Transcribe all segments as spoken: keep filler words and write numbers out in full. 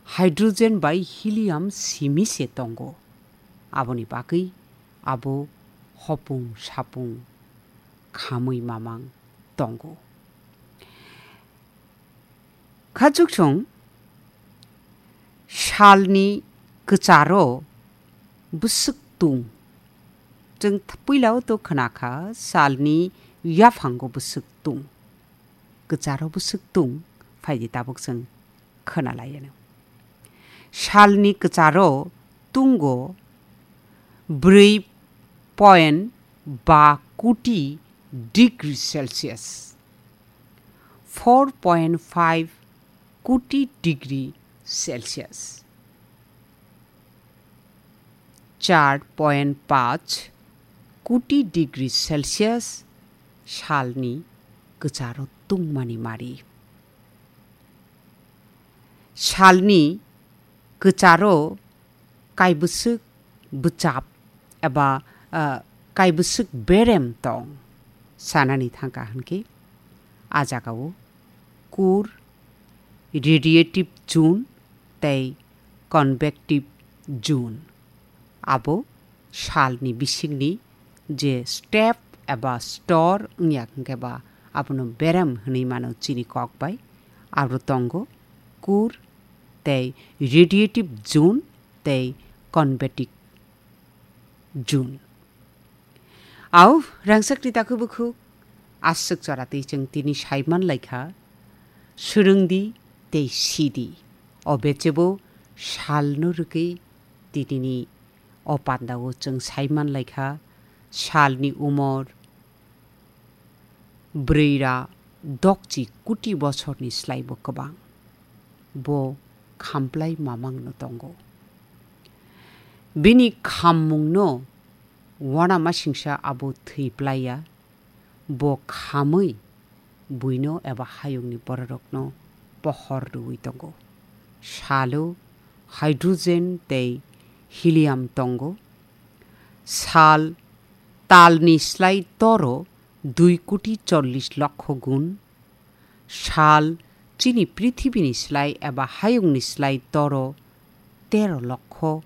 hydrogen bai helium simi se tongo. Aboni bagwi abo hopung sapung khamwi mamang tongo. Khachuksong salni kwcharo bwswk tung. Chwng th-, puilao to khwnakha salni yaphango bwswk tung. Kwcharo bwswk tung, phaidi tabuk chwng khwnalaiano. Salni kwcharo tungo brwi point ba koti degree Celsius, four point five koti degree Celsius, char point panch koti degree Celsius salni kwcharo tungmani mari. Salni kwcharo kaibwswk bwchap eba, ah, kaibwswk berem tong sanani thangkha hwnkhe, a jagao kur, radiative zone tei convective zone. Abo salni bisingni je step eba stor wngya hwnkhe ba abono berem hwnwi mano chini kok bai. Abo tongo kur tei radiative zone tei convective zone. Au rangchakni takhuk bukhuk aswk choratwi chwng tini saiman laikha, swrwngdi tei sidi. O bechebo salno rwgwi tinini o pandao chwng saiman laikha, salni umor brwi ra dokchi koti bosorni slaibo kwbang. Bo khamplai mamangno tongo. Bini khammungno uanamasingsa abo thwi plaiya, bo khamwi buino eba hayungni bororokno pohor rwui tongo. Salo hydrogen tei helium tongo. Sal talni slai toro dui koti chollish lokho gun. Sal chini prithibini slai eba hayungni slai toro tero lokho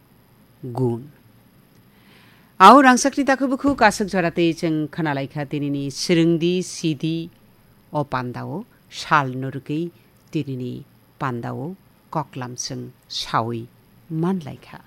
gun. Au rangchakni takhuk bukhuk aswk joratwi chwng khwnalaikha tinini swrwngdi sidi o pandao salno rwgwi tinini pandao koklam chwng saui manlaikha.